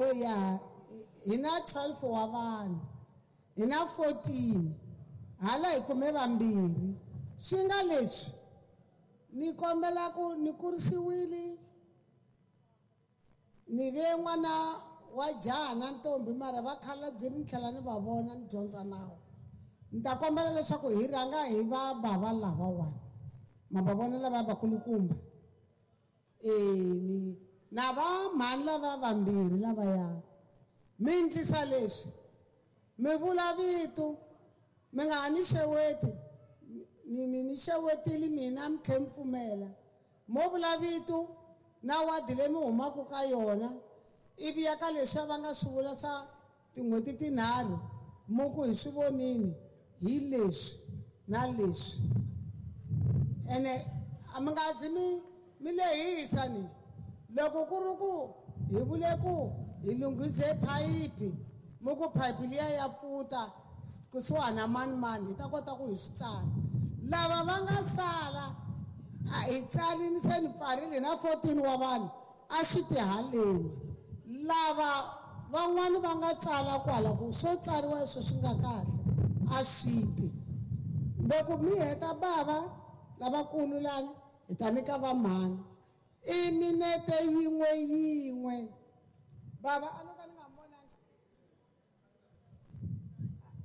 Oh ya, hi na 12 wa vanhu, hi na 14, hala hi kume vambirhi. Swi nga leswi ni kombela ku ni kurisiwile, ni ve n'wana wa jaha na ntombi, mara va khalabye ni tlhela ni va vona ni dyondza nawu. Ni ta kombela leswaku hi rhanga hi va bava lavawani, ma va vona lava vakulukumba, ni na va mhani lava vambirhi lavaya. Mi endlisa leswi, mi vula vito, mi nga ha ni xeweti, ni mi ni xewetile mina mi tlhe mi pfumela. Mo vula vito na wadi leyi mi humaka ka yona, ivi ya ka leswiya va nga swi vula swa tin'hweti tinharhu, mo ku hi swi vonini hi leswi na leswi. Ene a mi nga zi mi lehisa ni. Loko ku ri ku hi vule ku hi lunghise phayiphi, mi ku phayiphi liya ya pfuta kusuhana na mani mani, hi ta kota ku hi swi tsala. Lava va nga sala a hi tsali, ni se ni pfarile na 14 wa vanhu a swi tihaleni. Lava van'wani va nga tsala kwala ku swo tsariwa leswi swi nga kahle a swi ti. Loko mi heta bava lavakulu lani, hi ta nyika va mhani i minete yin'we yin'we. Bava a no ka ni nga vonangi.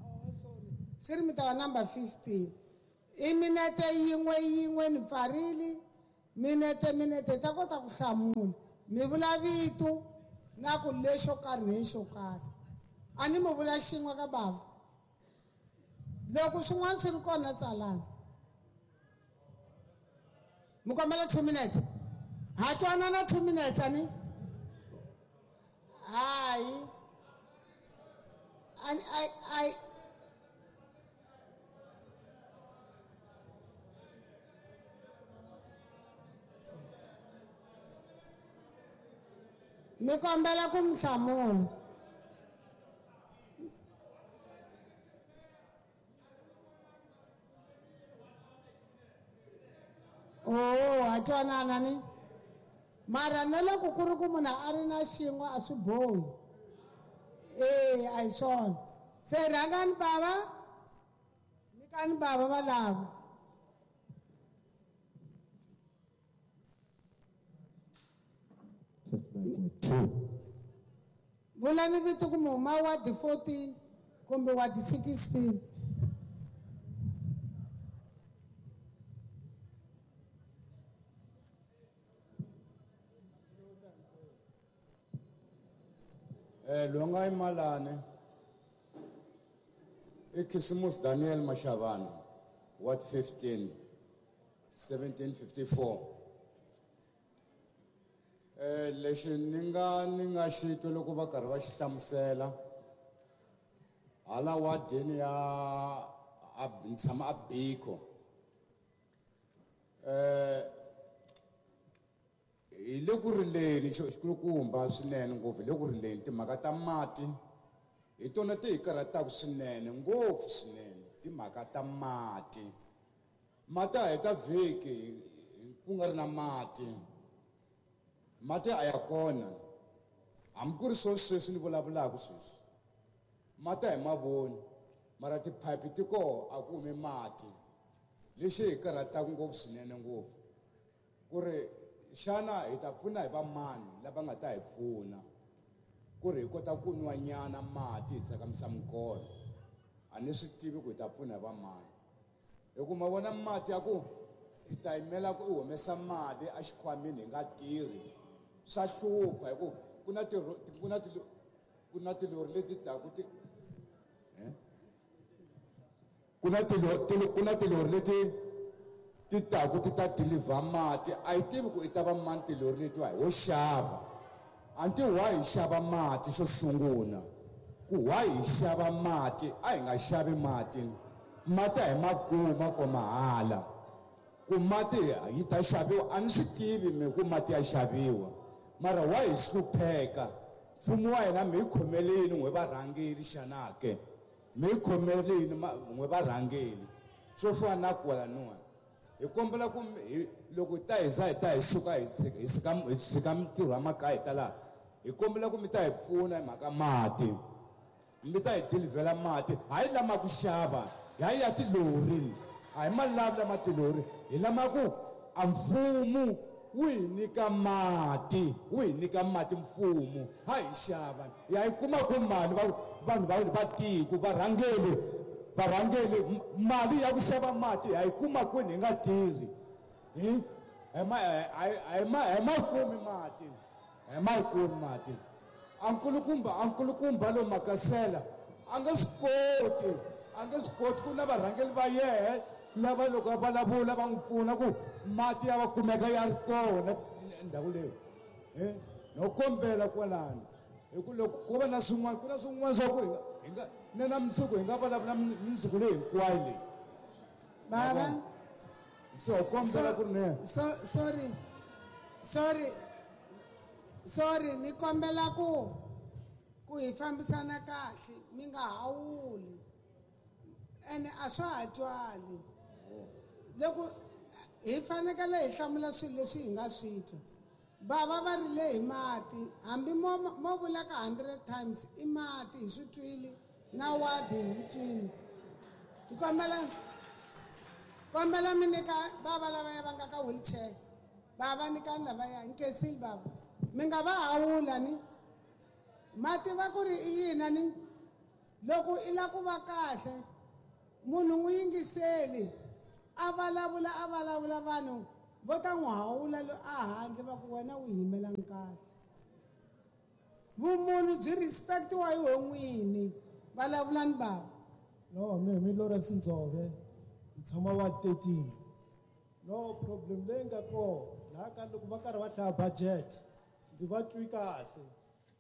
Oh, sorry, swi ri mi ta va number 15. I minete yin'we yin'we, ni pfarile minete minete, hi ta kota ku hlamula. Mi vula vito na ku lexo karhi ni lexo karhi. A ni mi vula xin'we ka bava. Loko swin'wana swi ri kona tsalani. Mi kombela 2 minutes. Ha twanana 2 minutes ani? Hayi. Ani ai ai mi kombela ku mi hlamula. Oh, ha twanana ni? Mara na loko ku ri ku munhu a ri na xin'we a swi bohi. A hi swona. Se rhangani bava, nyikani bava va lava. Test mic 1, 2. Vulani vito ku mi huma wadi 14 kumbe wadi 16. Longa imalane iKhisimusi Daniel Mashavana, Ward 15, 1754. Lexi ni nga xi twa loko va karhi va xi hlamusela hala wadini ya ni tshama a Biko. Hi le ku rileni xikulukumba swinene ngopfu, hi le ku rileni timhaka ta mati hi tona ti hi karhataka swinene ngopfu swinene, timhaka ta mati. Mati a heta vhiki ku nga ri na mati. Mati a ya kona. Hambi ku ri swo sweswi ni vulavulaka sweswi, mati a hi mavoni, mara tiphayiphi ti koho a ku humi mati. Lexi hi karhataka ngopfu swinene ngopfu ku ri xana hi ta pfuna hi va mani lava nga ta hi pfuna ku ri hi kota ku nwa nyana mati hi tsakamisa minkolo. A ni swi tivi ku hi ta pfuna hi va mani, hi ku ma vona mati ya ku hi ta yimela ku i humesa mali exikhwameni hi nga tirhi, swa hlupha hi ku ku na ku na ku na tilori leti taku ti, ku na ku na tilori leti ti taku ti ta deliver mati. A yi tivi ku i ta va mani tilori letiwa, hi wo xava. A ni tivi why hi xava mati xo sungula, ku why hi xava mati, a hi nga xavi mati. Mati a hi ma kuma for mahala, ku mati yi ta xaviwa a ni swi tivi mi ku mati ya xaviwa, mara why hi hlupheka? Mfumo wa hina mi hi khomeleni n'we varhangeri xana ke? Mi hi khomeleni n'we varhangeri swo fana na kwalaniwa. Hi kombela ku loko hi ta hi za hi ta hi suka hi tshika, hi tshika, hi tshika mintirho ya makaya hi ta laha, Hi kombela ku mi ta hi pfuna hi mhaka mati. Mi ta hi dilivhela mati, hayi lama ku xava, hayi ya tilori, a hi malavi lama tilori, hi lama ku a mfumo wu hi nyika mati, wu hi nyika mati mfumo, ha hi xava. Ya yi kuma ku mali va vanhu va va tiko varhangeli varhangeli mali ya ku xava mati ha yi kuma kwini hi nga tirhi. Hi hi ma hi ma kumi mati, hi ma kumi mati. Ankulukumba lo Makasela a nge swi koti, a nge swi koti ku na varhangeli va yehe lava loko va vulavula va n'wi pfuna ku mati ya va kumeka ya ri kona ndhawu leyi. No kombela kwalano hi ku loko ko va na swin'wana, ku na swin'wana swa ku hi nga na na mundzuku hi nga vulavula mundzuku leyi hinkwayo leyi. Baba, so kombela ku ri ne. Sorry, sorry, sorry, ni kombela ku hi fambisana kahle, mi nga hawuli. Ene a swa ha twali. Loko hi fanekele hi hlamula swilo leswi hi nga swi twa. Bava va rile hi mati, hambi mo vula ka 100 times i mati hi swi twile na wadi hi swi twile. Hi kombela mi nyika bava lavaya va nga ka wheelchair. Bava nyikani lavaya, nkensile bava. Mi nga va hawula ni. Mati va ku ri i yini ni? Loko i la ku va kahle, munhu n'wi yingiseli. A vulavula, a vulavula vanhu vo ta n'wi hawula lo a handle va ku wena u yimela kahle. Vumunhu byi respectiwa hi ho n'wini. Vulavulani bava. No, mi Lawrence Ndzove, ni tshama wa 13. No problem leyi nga kona laha ka loko va karhi va hlaya budget, ndzi va twi kahle.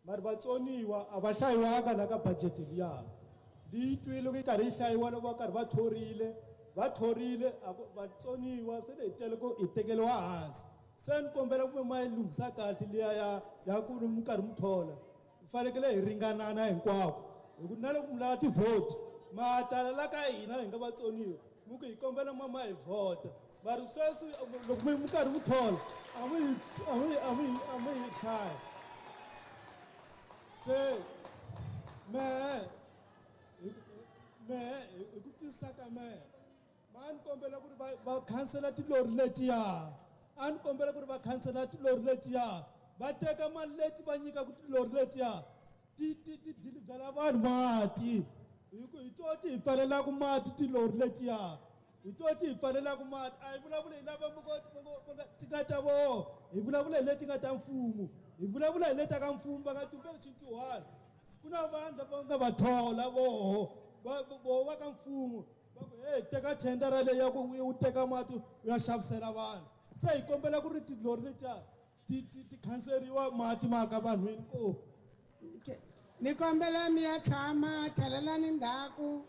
Mara vatsoniwa a va hlayiwanga la ka budget liya. Ndzi yi twile loko yi karhi yi hlayiwa loko va karhi va thorile, va thorile a ku vatsoniwa se hi tele ku hi tekeriwa hansi. Se ni kombela ku ma yi lunghisa kahle liya ya ku mi karhi mi thola. Hi fanekele hi ringanana hinkwako. Hi ku na loko mi lava ti-vote, ma tala la ka hina hi nga vatsoniwa, mi ku hi kombela ma hi vhota. Mara sweswi loko mi karhi mi thola, a mi hi hlaya. Se mehe hi ku twisisa ka mehe, ma ni kombela ku ri va khansela tilori letiya. A ni kombela ku ri va khansela tilori letiya. Va teka mali leti va nyikaka tilori letiya, ti dilivhela vanhu mati. Hi ku hi to ti hi pfalelaka mati tilori letiya. Hi to ti hi pfalelaka mati. A hi vulavuli hi lava ti nga ta vona. Hi vulavula hi leti nga ta mfumo. Hi vulavula hi leti ka mfumo va nga tumbeli xintiwani. Ku na vanhu lava nga va thola voho, voho va ka mfumo. Va ku, hey, teka thendara leyi ya ku u teka mati u ya xavisela vanhu. Se hi kombela ku ri tilori letiya ti khanseriwa mati ma ka vanhwini ko. Ni kombela mi ya tshama, tlhelelani ndzhaku.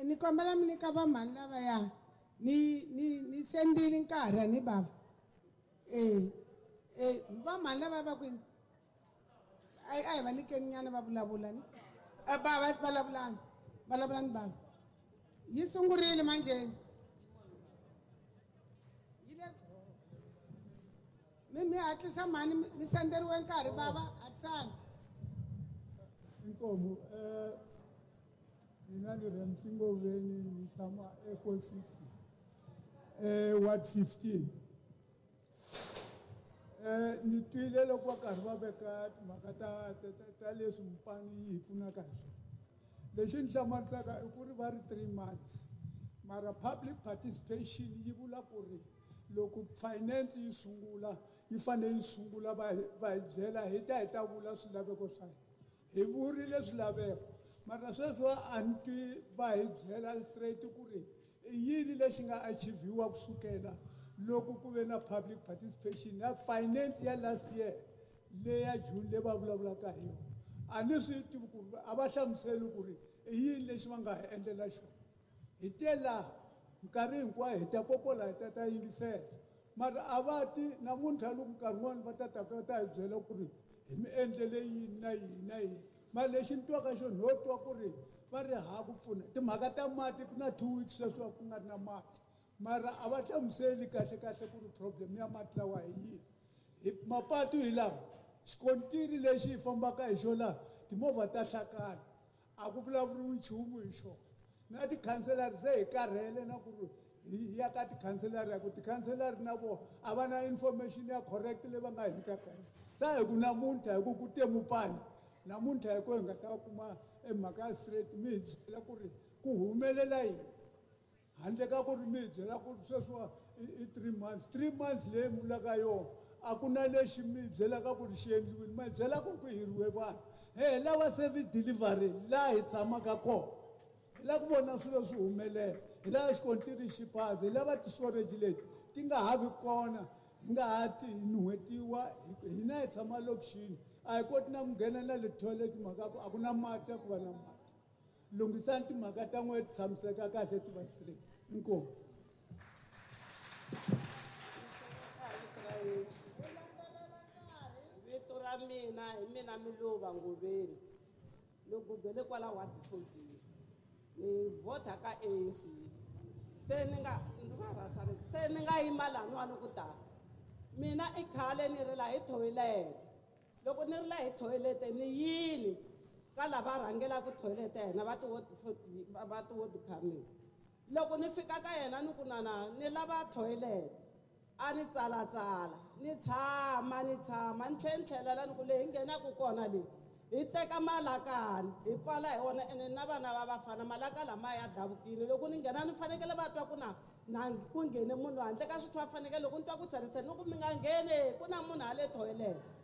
Ni kombela mi nyika vamhani lavaya. Ni sendile nkarhi ni bava. Vamhani lava va kwini? A hi va nyikeni nyana va vulavula ni. Bava vulavulani. Vulavulani bava. Yi sungurile manjhe. Mi hatlisa mhani, mi senderiwe nkarhi bava, hatlisani. Inkomu, mina ni Ramsey Ngoveni, ni tshama e 460, ward 15. Ni twile loko va karhi va veka timhaka ta leswi Mopani yi hi pfunaka hi swona. Lexi ni hlamarisaka i ku ri va ri 3 months. Mara public participation yi vula ku ri loko finance yi sungula, yi fanele yi sungula va hi byela hi ta hi ta vula swilaveko swa hina. Hi vurile swilaveko, mara sweswi a ni twi va hi byela straight ku ri i yini lexi nga achieviwa kusukela loko ku ve na public participation ya finance ya last year leya June leyi va vulavulaka hi yona. A ni swi tivi ku ri a va hlamuseli ku ri i yini lexi va nga hi endlela xona. Hi te laha minkarhi hinkwayo hi ta kokola hi ta ta yingisela. Mara a va ti namuntlha loko nkarhi wun'wani va ta ta va ta hi byela ku ri hi mi endlele yini na yini na yini. Mara lexi ni twaka xona ho twa ku ri va ri ha ku pfuna. Timhaka ta mati ku na 2 weeks sweswi ku nga ri na mati. Mara a va hlamuseli kahle kahle ku ri problem ya mati lawa hi yihi. Hi mapatu hi lawa. Xikontiri lexi hi fambaka hi xona laha, timovha ta hlakala, a ku vulavuriwi nchumu hi xona. Na tikhanselari se hi karhele na ku ri hi ya ka tikhanselari, ya ku tikhanselari na vona a va na information ya correct leyi va nga hi nyikaka yona. Se hi ku namuntlha hi ku ku te mupani, namuntlha hi ku hi nga ta kuma emhaka ya straight, mi hi byela ku ri ku humelela yini, handle ka ku ri mi hi byela ku ri sweswiwa i 3 months. 3 months leyi mi vulaka yona, a ku na lexi mi hi byelaka ku ri xi endliwile. Ma hi byela ku ku hiriwe vanhu. He lava service delivery laha hi tshamaka kona, hi lava ku vona swilo swi humelela, hi lava xikontiri xi pasa, hi lava ti-storage leti ti nga ha vi kona, hi nga ha ti nuhetiwa. Hina hi tshama lokixini, a hi koti na ku nghena na le toilet, mhaka ku a ku na mati ya ku va na mati. Lunghisani timhaka ta n'we ti tshamiseka kahle, ti va straight. Inkomu. Vito ra Yesu. Vito ra mina hi mina Miluva Ngoveni, ni gugele kwala ward 14, ni vhota ka ANC. Se ni nga swa rhasa, se ni nga yima laniwani ku ta mina i khale ni rila hi thoyilete. Loko ni rila hi thoyilete, ni yini ka lava rhangelaka thoyilete ya hina, va ti-ward 14, va ti-ward committee. Loko ni fika ka yena ni ku, "Nana, ni lava thoyilete," a ni tsalatsala, ni tshama, ni tshama, ni tlhela ni tlhelela, ni ku leyi hi nghenaka kona leyi, hi teka malakani hi pfala hi wona, ene na vana va vafana malaka lamaya ya davukile. Loko ni nghena ni fanekele va twa ku na ku nghene munhu handle ka swithu, va fanekele loko ni twa ku tsheretshere, ni ku, "Mi nga ngheni, ku na munhu hale thoyilete."